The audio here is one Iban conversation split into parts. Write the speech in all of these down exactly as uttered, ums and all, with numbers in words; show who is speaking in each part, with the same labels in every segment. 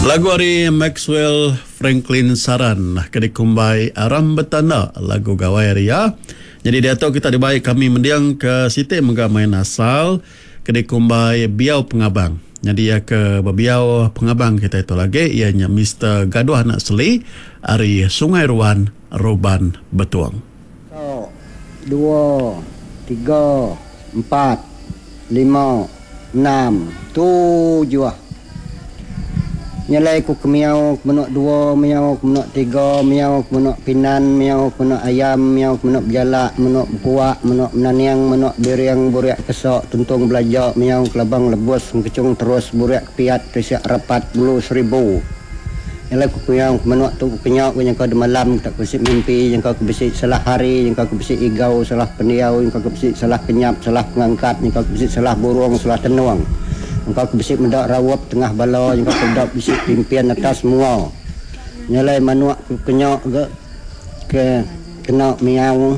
Speaker 1: Lagu ari Maxwell Franklin Saran ke dikumbai Aram Betanda lagu gawai ari iya. Nyadi diatu kita dibai kami mending ke siti mega main asal ke dikumbai Biau Pengabang. Nyadi iya ke bebiau pengabang kitai tu lagi iya nya Mister Gaduh Anak Seli ari Sungai Ruan, Roban, Betong.
Speaker 2: Satu, dua, tiga, empat, lima, enam, tujuh. Nyelai ku ke miau ke menoa dua, miau ke menoa tiga, miau ke menoa pinan, miau ke menoa ayam, miau ke menoa bejalak, menoa bekuak, menoa menaning, menoa biring, burik kesok, tuntung belaja, miau ke labang lebus, engkechung terus, burik kepiat, risik rapat, bulu seribu. Nyelai ku ke miau ke menoa tu kenyau ke nyangka demalam ke tak bisi mimpi, nyangka ke bisi salah hari, nyangka ke bisi igau, salah pendiau, nyangka ke bisi salah kenyap, salah pengangkat, nyangka ke bisi salah burung, salah tenung. Engka ke bisi meda raup tengah bala, engka ke meda bisi pimpin atas mua. Nyelai manuk ke kenya ga ke kena miau.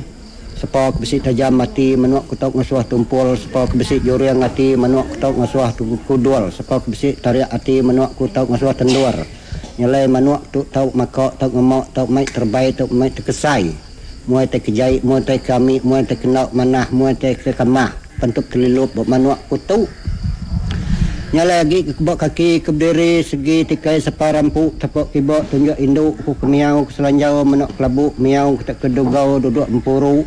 Speaker 2: Sepa ke bisi tajam ati manuk ke tau ngasuh tumpul, sepa ke bisi juring ati manuk ke tau ngasuh kudul, sepa ke bisi tarik ati manuk ke tau ngasuh tendur. Nyelai manuk tu tau maka, tau ngema, tau mai terebai, tau mai tekesai. Muai tai kejai, muai tai kami, muai tai kena manah, muai tai ke kamah. Pentup telilup ba manuk ku tu. Nyalai agi ke keba kaki ke bediri segi tikai sapa rampu tepok kiba tunjuk indu ku ke miau ke selanjau meno kelabu miau ke ke dugau duduk empuru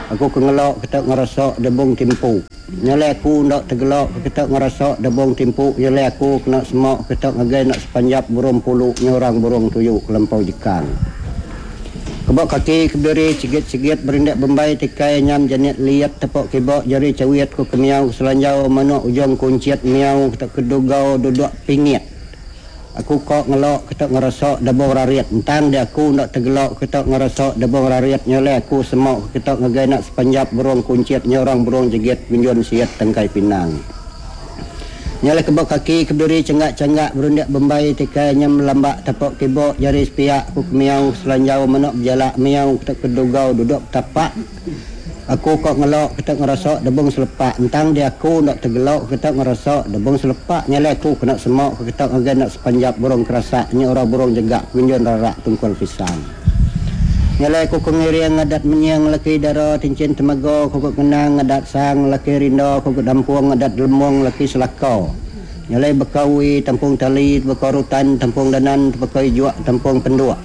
Speaker 2: aku ke ngelo ke tau ngerasa debung timpu. Nyalai aku enda tegelo ke tau ngerasa debung timpu nyalai aku kena sema ke tau ngagai enda sepanjap burung pulu nyurang burung tuyu kelempau jekang. Keba kaki ke bediri sigit-sigit berindik bembai tikai nyam jenit liat tepok kiba jari cawit ku ke miau ke selanjau manuk ujung kuncit miau ke ke dugau duduk pingit. Aku kok ngelok ke ngerasa debung rarit entang dia aku ndak tegelok ke ngerasa debung rarit nyoleh aku semok ke ngagai nak sepanjap burung kuncit nyorang burung jegit gunjun siat tengkai pinang. Nyalai keba kaki ke berdiri cenggak-cenggak berundak bembai tikai nyam lambak tepok kiba jari sepiak ku ke miau selanjau manuk bejalak miau ke kedugau duduk tapak. Aku kok ngelok ke ngerasa debung selepak entang dia aku ndak tegelok ke ngerasa debung selepak nyalai aku kena semok ke ngagai nak sepanjap burung kerasak nya orang burung jegak gunjun rarak tungkul pisang. Nyalai ku ngiring ngadat menyang laki dara tincin temaga ku kenang ngadat sang laki rinda ku dampung ngadat lemong laki selaka. Nyalai bekawi tampung tali bekarutan tampung danan bekai juak tampung penduk.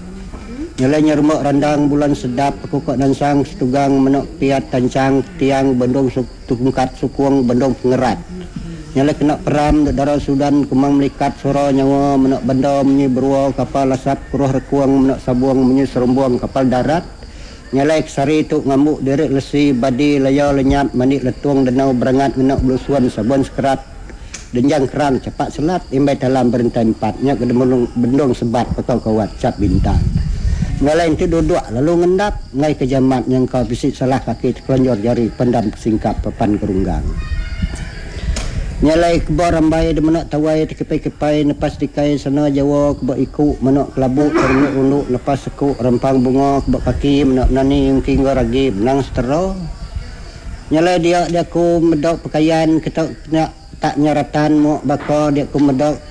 Speaker 2: Nyalai nyermak randang bulan sedap aku kok nansang setugang menok piat tancang tiang bendung tungkat sukung bendung pengerat. Nyalai kena peram dara Sudan kumang melikat sura nyawa menok benda menyi berua kapal asap kuruh rekuang menok sabuang menyi serumbung kapal darat. Nyalai kesari tu ngamuk diri lesi badi laya lenyap mandi letung denau berangat menok belusuan sabun sekerat denjang kerang cepat selat imbai dalam berintai empat nya ke bendung sebat pakau kawat cap bintang. Nyalai itu duduk lalu ngendap ngai ke jamat yang kau bisi salah kaki terkelanjur jari pendam singkap papan kerunggang. Nyalai keba rambai de menok tawai tekepai-kepai nepas tikai sana Jawa keba iku menok kelabu terunduk-unduk nepas seku rempang bunga keba kaki menok nani ungking ragi benang setera. Nyalai dia dia ku medok pakaian ketok nak tak nyeratan mok baka dia ku medok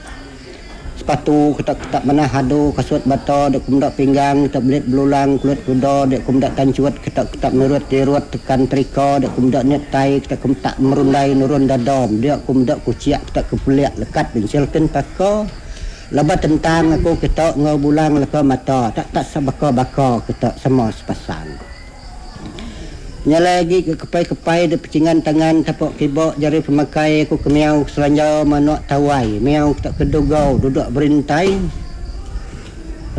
Speaker 2: sepatu ketok ketak manah hadu kasut bata dia ku medok pinggang ketok belit belulang kulit kuda dia ku medok tancuat ketok ketak merut dirut tekan trika dia ku medok netai ketok ku tak merundai nurun dadam dia ku medok kuciak ketok kepuliak lekat bensilkan paka laba tentang aku ketok ngau bulang leka mata tak tak sebaka-baka ketok semua sepasang. Nyalai lagi ke kepai-kepai di pecingan tangan tepok kibok jari pemakai aku ke miau selanjau manuk tawai miau tak kedugau duduk berintai.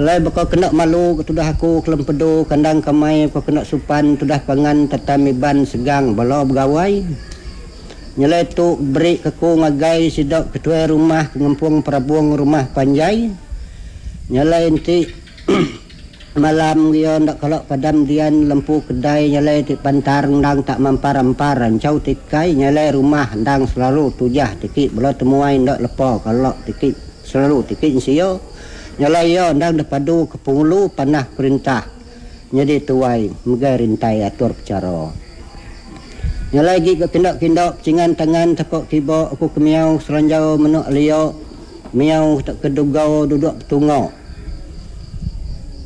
Speaker 2: Lai bakal kena malu ketudah aku kelempedu kandang kamai aku kena supan tudah pangan tatami ban segang bala begawai. Nyalai tu beri ke ku ngagai sidak ketua rumah ngempung perabung rumah panjai. Nyalai enti malam dia ndak kalau padam dian lempu kedai nyalai ti pantar ndang tak mampar-ampar rancau tikai nyalai rumah ndang selalu tujah tiki bela temuai ndak lepa kalau tiki selalu tiki sio nyalai yo ndang depadu ke pengulu panah perintah nyadi tuai megai rintai atur percara. Nyalai gi ke kindak-kindak cingan tangan tepok kiba aku kemiau selanjau menok liok Miau tak kedugau duduk betunga.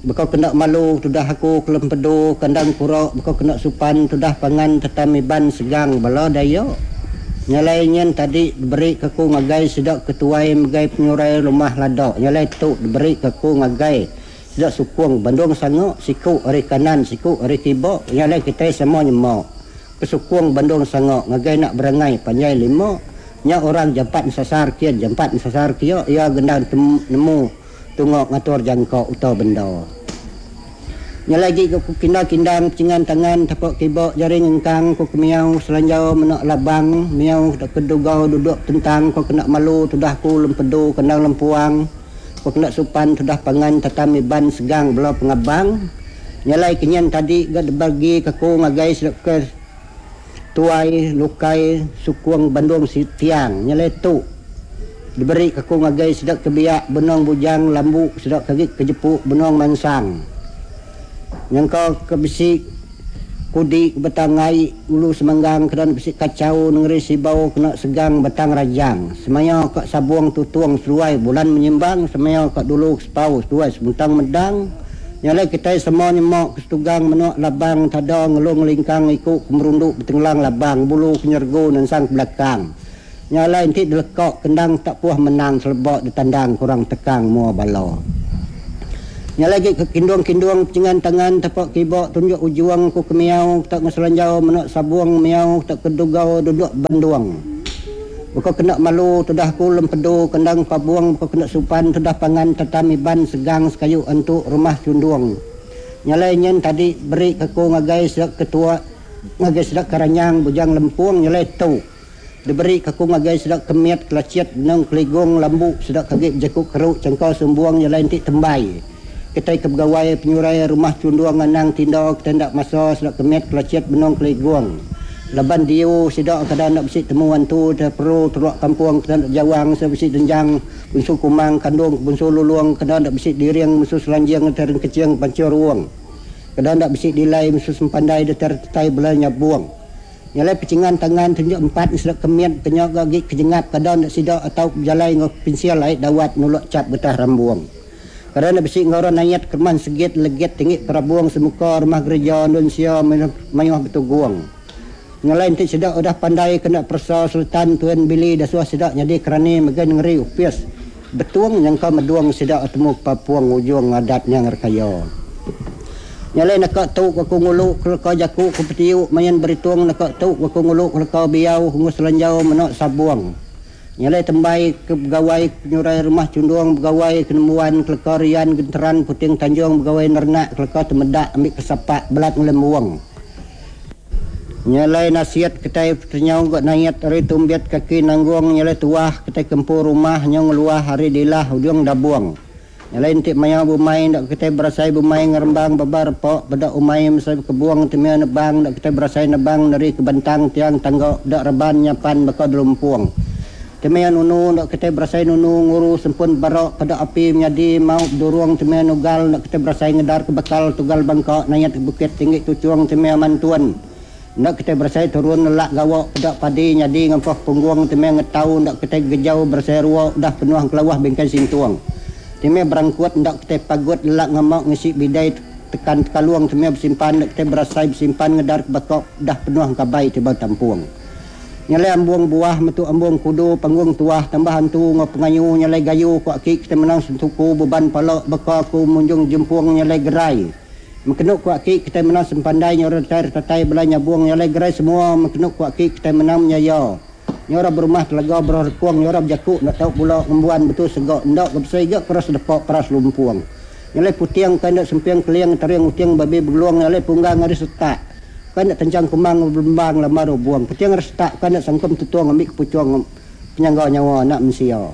Speaker 2: Baka kena malu tudah aku kelempedu kandang kura baka kena supan tudah pangan tetam iban segang bala dayak. Nyalai nyin tadi diberi ke aku ngagai sida ketuai megai penyurai rumah lada. Nyalai tu diberi ke aku ngagai sida sukung bandung sanga siku ari kanan siku ari kiba. Nyalai kitai sama nyema ke sukung bandung sanga ngagai nak berangai panjai lima. Nya orang jampat ensasar kin jampat ensasar kia iya gendang nemu tunga ngatur jangka uta benda. Nya lagi ke ku kinda-kindang pecingan tangan tapak kiba jari ngengkang ku kemiau selanjau menak labang miau kedugau duduk tentang ku kena malu tudah ku lempedu kendang lempuang ku kena supan tudah pangan tatam iban segang bela pengabang. Nya lai kenyen tadi ga dibagi ke ku ngagai ke tuai lukai sukung bandung tiang. Nya lai tu diberi ke aku ngagai sida kebiak benong bujang lambu sida kagi kejepu benong mansang. Nyangka ke bisi kudi betangai ulu semanggang kedan bisi kacau nengeri sibau kena segang batang rajang. Semaya ka sabung tutung seduai bulan menyimbang semaya ka dulu sepau seduai semuntang medang. Nyalai kitai semua nyemak kesetugang menuk labang tada ngelung lingkang iku kemerunduk betenggelang labang bulu kenyergu nensang ke belakang. Nyalai enti dilekak kendang tak puah menang selebak ditandang kurang tekang mua bala. Nyalai lagi ke kindung-kindung pecingan tangan tapak kiba tunjuk ujuang ku kemiau tak ngeselanjau menak sabung miau tak kedugau duduk bandung. Buka kena malu tudah ku lempedu kendang pabuang buka kena supan tudah pangan tetam iban segang sekayu entuk rumah cundung. Nyalai nyen tadi beri ke ku ngagai sida ketua ngagai sida keranyang bujang lempung nyalai tu. Diberi ke ku ngagai sida kemit kelacit benung keligung lambu sida kagi bejaku keruk cengkau sumbuang nyalai enti tembai. Kitai ke begawai penyurai rumah cundung anang tinda kita ndak masa sida kemit kelacit benung keligung. Laban diu sida kadang nak besi temu antu terperu teruk kampung kadang nak jawang sida besi denjang bunsu kumang kandung bunsu lulung kadang nak besi diring bunsu selanjing tereng kecing pancur ruang. Kadang nak besi dilai bunsu sempandai deter tetai bela nyabuang. Nyalai pecingan tangan tunjuk empat sida kemit kenyak gagi kejengap kadang nak sida atau berjalai ngau pensil ait dawat nuluk cap getah rambuang. Kadang nak besi ngoron ayat kerman segit legit tinggi perabuang semuka rumah gereja Indonesia mayuh betuguang. Nyalai enti sida udah pandai kena persa Sultan Tuan Billy dah suah sida jadi kerani megai ngeri upis betuang nyangka meduang sida temu papuang ujung adatnya ngerkaya. Nyalai nak tu aku ngulu kelka jaku ku petiu main beritung nak tu aku ngulu kelka biau ngus selanjau menak sabuang. Nyalai tembai ke pegawai penyurai rumah cundung pegawai kenemuan kelka rian genteran puting tanjung pegawai nernak kelka temedak ambil kesapak belat ngelembuang. Nyalai nasihat kitai ternyau gak nayat hari tumbiat kaki nanggung nyalai tuah kitai kempur rumah nyong luah hari dilah ujung dabuang. Nyalai entik maya bumai dak kitai berasai bumai ngerembang babar pok bedak umai mesai kebuang temia nebang dak kitai berasai nebang dari kebentang tiang tangga dak reban nyapan baka delumpuang. Temia nunu dak kitai berasai nunu nguru sempun barok pada api menjadi mau durung temia nugal dak kitai berasai ngedar ke bekal tugal bangka nayat bukit tinggi tucuang temia mantuan. Nak kita berasai turun nelak gawak pedak padi nyadi ngempoh punggung temia ngetau nak kita gejau berasai ruak dah penuh kelawah bingkai sintuang. Temia berangkut nak kita pagut nelak ngemak ngisi bidai tekan tekaluang temia bersimpan nak kita berasai bersimpan ngedar bakok dah penuh kabai tiba tampuang. Nyalai ambung buah metu ambung kudu panggung tuah tambah hantu ngau pengayu nyalai gayu kuak ki kita menang sentuku beban palak beka ku munjung jempuang nyalai gerai. Mekenuk kuak ki kita menang sempandai nyora ter tatai bela nyabuang nyalai gerai semua mekenuk kuak ki kita menang nyaya. Nyora berumah telaga berkuang nyora berjakuk nak tahu pula ngembuan betul segak ndak kebesai gak keras depak peras lumpuang. Nyalai putiang kan nak sempiang keliang tariang utiang babi bergeluang nyalai punggang hari setak. Kan nak tencang kemang berlembang lamar buang. Putiang hari setak kan nak sangkum tutuang ambil kepucuang penyangga nyawa nak mensia.